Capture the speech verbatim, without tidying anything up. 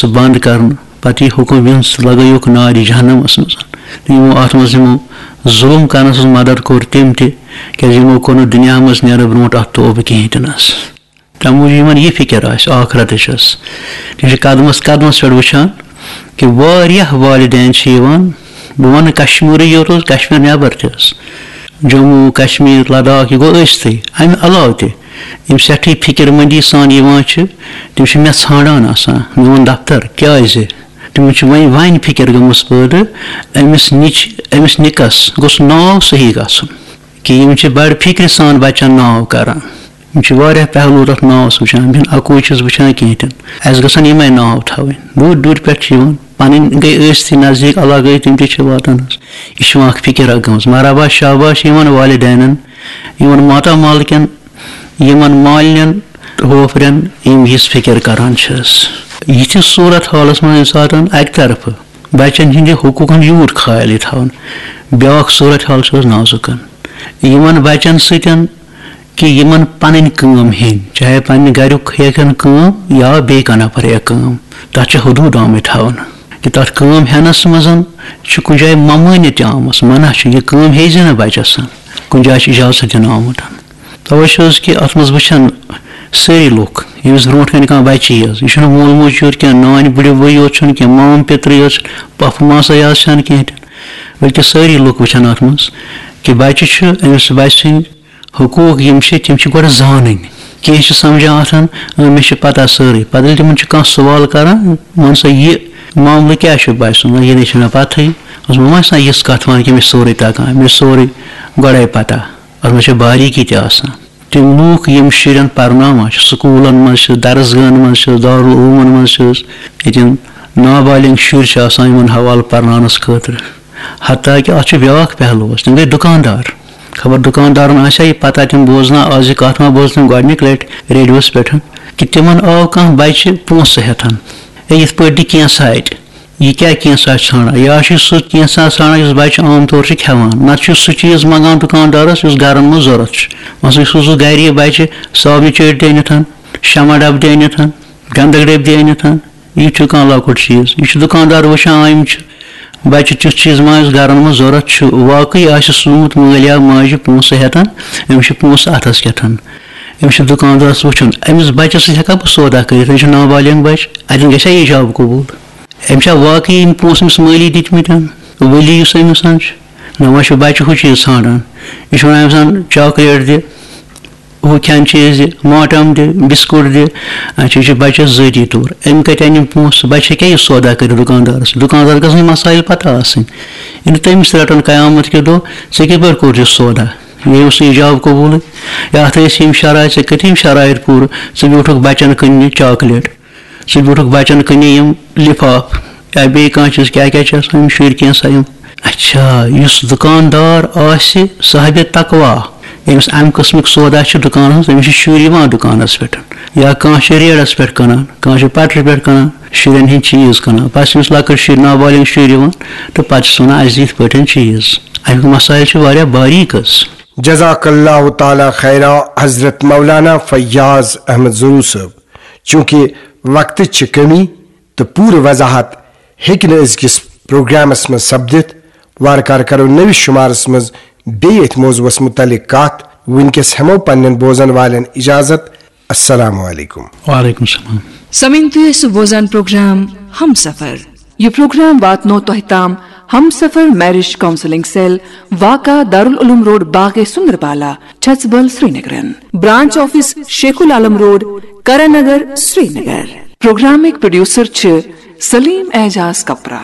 سُہ بنٛد کرنہٕ۔ پتہٕ یہِ حُکم، یِہُنٛد سُہ لگٲیوکھ نارِ جہنمس منٛز۔ تہٕ یِمو اتھ منٛز یِمو ظُلُم کرنس منٛز مدد کوٚر تٔمۍ تہِ، کیازِ یِمو کوٚر نہٕ دُنیا منٛز نیرنہٕ برونٛٹھ اتھ توبہٕ کِہیٖنۍ تہِ نہٕ حظ۔ تَمہِ موٗجوٗب یِمن یہِ فِکر آسہِ ٲخرتٕچ حظ۔ تِم چھِ قدمس قدمس پٮ۪ٹھ وٕچھان کہِ واریاہ والدین چھِ یِوان، بہٕ وَنہٕ کشمیٖرٕے یوت حظ، کشمیٖر نٮ۪بر تہِ حظ، جموں، کشمیٖر، لداخ، یہِ گوٚو ٲستٕے۔ اَمہِ علاوٕ تہِ یِم سٮ۪ٹھٕے فِکر مندی سان یِوان چھِ، تِم چھِ مےٚ ژھانٛڈان آسان، میون دفتر، کیٛازِ؟ تِمن چھِ وۄنۍ، وۄنۍ فِکر گٔمٕژ پٲدٕ، أمِس نِچ، أمِس نِکس گوٚژھ ناو صحیح گژھُن، کہِ یِم چھِ بڑٕ فِکرِ سان بچن ناو کران۔ یِم چھِ واریاہ پہلو تَتھ ناوَس وٕچھان، بہٕ چھُس اَکُے چھُس وٕچھان کینٛہہ تہِ نہٕ۔ اَسہِ گژھن یِمَے ناو تھاوٕنۍ۔ دوٗرِ دوٗرِ پٮ۪ٹھ چھِ یِوان، پَنٕنۍ گٔے ٲستٕے نزدیٖک، علاقہٕ گٔے، تِم تہِ چھِ واتان حظ۔ یہِ چھِ یِوان اَکھ فِکِر اَکھ گٔمٕژ۔ مرحبا، شاباش یِمَن والدینَن، یِمَن ماتامال کٮ۪ن، یِمَن مالنٮ۪ن، ہوفرٮ۪ن، یِم یِژھ فِکِر کَران چھِ حظ۔ یِتھِس صوٗرت حالَس منٛز ییٚمہِ ساتَن اَکہِ طرفہٕ بَچَن ہِنٛدِ حقوٗقَن یوٗت خیال یہِ تھاوُن، بیٛاکھ صوٗرت حال چھِ حظ نازُکَن۔ یِمَن بَچَن سۭتۍ کہِ یِمن پنٕنۍ کٲم ہیٚنۍ، چاہے پننہِ گریُک ہیٚکن کٲم یا بیٚیہِ کانٛہہ نفر ہیٚکہِ کٲم، تتھ چھِ حدوٗد آمٕتۍ تھاونہٕ۔ کہِ تتھ کٲم ہٮ۪نس منٛز چھِ کُنہِ جایہِ ممٲنِیت تہِ آمٕژ، منع چھُ، یہِ کٲم ہیٚیہِ زِ نہٕ بچس۔ کُنہِ جایہِ چھُ اجازت دِنہٕ آمُت۔ توے چھِ حظ کہِ اتھ منٛز وٕچھان سٲری لُکھ، ییٚمِس برونٛٹھ کنہِ کانٛہہ بچہِ یی حظ، یہِ چھُنہٕ مول موج یوت کینٛہہ، نانۍ بٕڈِ بٲے یوت چھُنہٕ کینٛہہ، مام پیترٕے یوت چھُنہٕ، پۄپھٕ ماسے یٲژ چھَنہٕ کینٛہہ تہِ، بلکہِ سٲری لُکھ وٕچھان اتھ منٛز کہِ بچہِ چھُ، أمِس بچہِ سٕنٛدۍ حقوٗق یِم چھِ، تِم چھِ گۄڈٕ زانٕنۍ۔ کینٛہہ چھِ سمجھان آسان، اۭں، مےٚ چھِ پتہ سٲرٕے۔ پتہٕ ییٚلہِ تِمن چھُ کانٛہہ سوال کران، وَن سا، یہِ معاملہٕ کیٛاہ چھُ بچہِ سُنٛد؟ یہِ نَے چھُنہٕ مےٚ پتہٕے۔ دوٚپمَس، وۄنۍ چھِ آسان یِژھ کتھ وَنٕنۍ کہِ مےٚ چھِ سورُے تگان، مےٚ چھِ سورُے گۄڈے پتہ۔ اتھ منٛز چھِ باریٖکی تہِ آسان۔ تِم لوٗکھ یِم شُرٮ۪ن پرناوان چھِ، سکوٗلن منٛز چھِ، درس گاہن منٛز چھِ، دارالعلومن منٛز چھِ، ییٚتٮ۪ن نابالغ شُرۍ چھِ آسان یِمن حوالہٕ پرناونس خٲطرٕ۔ حتیٰ کہِ اتھ چھُ بیٛاکھ پہلوٗ، تِم گٔے دُکاندار۔ خبر دُکاندارن آسیا یہِ پتہ، تِم بوزنا آز یہِ کتھ ما بوز تِم گۄڈنِچ لٹہِ ریڈیوس پٮ۪ٹھ، کہِ تِمن آو کانٛہہ بچہِ پونٛسہٕ ہٮ۪تھ۔ ہے، یِتھ پٲٹھۍ دِ کینٛژھا اتہِ۔ یہِ کیٛاہ کینٛژھا ژھانٛڈان؟ یا چھُ سُہ کینٛژھا ژھانٛڈان یُس بچہِ عام طور چھُ کھٮ۪وان، نتہٕ چھُ سُہ چیٖز منٛگان دُکاندارس یُس گرن منٛز ضروٗرت چھُ۔ مثلاً، یہِ سوزُکھ گرِ یہِ بچہِ صابنہِ چٲٹۍ دِ أنِتھ، شمع ڈبہٕ دِ أنِتھ، گنٛدک ڈبہٕ دِ أنِتھ۔ یہِ چھُ کانٛہہ لۄکُٹ چیٖز۔ یہِ چھُ دُکاندار وٕچھان، آ، یِم چھِ بچہِ تیُتھ چیٖز ما یُس گرن منٛز ضروٗرت چھُ۔ واقعی آسہِ سوٗنٛت مٲلۍ یا ماجہِ پونٛسہٕ ہٮ۪تھ، أمِس چھِ پونٛسہٕ اتھس کٮ۪تھ۔ أمِس چھُ دُکاندارس وٕچھُن، أمِس بچس سۭتۍ ہٮ۪کا بہٕ سودا کٔرِتھ؟ أمِس چھُ نابالغ بچہِ، اتٮ۪ن گژھِ ہا ایجاب قبوٗل۔ أمِس چھا واقعی یِم پونٛسہٕ أمِس مٲلی دِتمٕتۍ؟ ولی یُس أمِس چھُ، نہ وۄنۍ چھُ بچہِ ہُہ چیٖز ژھانٛڈان۔ یہِ چھُ ونان أمِس، چاکلیٹ دِ، ہُہ کھٮ۪ن چیٖز دِ، ماٹم دِ، بسکوٹ دِ۔ اچھا، یہِ چھُ بچس ذٲتی طور۔ أمۍ کتہِ انہِ یِم پونٛسہٕ؟ بچہِ ہیٚکیٛاہ یہِ سودا کٔرِتھ دُکاندارس؟ دُکاندار گژھن یِم مسائل پتہ آسٕنۍ۔ ییٚلہِ تٔمِس رٹن قیامت کہِ دۄہ، ژےٚ کِتھ پٲٹھۍ کوٚر یہِ سودا؟ یہِ اوس نہٕ ایجاب قبوٗلٕے۔ یا اتھ ٲسۍ یِم شرائط، ژےٚ کٔرِتھ یِم شرائط پوٗرٕ؟ ژٕ بیوٗٹھُکھ بچن کٕننہِ چاکلیٹ، ژٕ بیوٗٹھُکھ بچن کٕننہِ یِم لفاف یا بیٚیہِ کانٛہہ چیٖز، کیٛاہ کیٛاہ چھِ آسان یِم شُرۍ کینٛژھا یِم۔ اچھا، یُس دُکاندار آسہِ صاحبِ تقوا، ییٚمِس امہِ قٕسمٕکۍ سودا چھِ دُکانس منٛز، تٔمِس چھِ شُرۍ یِوان دُکانس پٮ۪ٹھ، یا کانٛہہ چھُ ریڈس پٮ۪ٹھ کٕنان، کانٛہہ چھُ پٹرِ پٮ۪ٹھ کٕنان، شُرٮ۪ن ہٕنٛدۍ چیٖز کٕنان، پتہٕ چھِ أمِس لۄکٕٹۍ شُرۍ، نابالغ شُرۍ یِوان تہٕ پتہٕ چھِس ونان، اسہِ دِ یِتھ پٲٹھۍ چیٖز۔ امیُک مسائل چھُ واریاہ باریٖک حظ۔ جزاک اللہ تعالیٰ خیرا حضرت مولانا فیاض احمد ضروٗ صٲب۔ چوٗنٛکہِ وقتٕچ چھِ کمی تہٕ پوٗرٕ وضاحت ہیٚکہِ نہٕ أزکِس پروگرامس منٛز سپدِتھ، وارٕ کارٕ کرو نٔوِس شُمارس منٛز بیٚیہِ أتھۍ موضوعس مُتعلق کتھ۔ وُنکیٚس ہٮ۪مو پننٮ۪ن بوزن والٮ۪ن اجازت۔ السلام علیکم۔ وعلیکم السلام۔ سمعین، تُہۍ ٲسِو بوزان پروگرام ہمسفر۔ یہِ پروگرام واتنو تۄہہِ تام ہمسفر میرج کونسلنگ سیل، واقع دارالعلوم روڈ، باغے سندربالا، چھژبل، سرینگرن۔ Branch office Sheikh ul Alam road, Karan Nagar, Srinagar. پروگرامٕکۍ پروڈیوسر چھِ سلیم اعجاز کپرا۔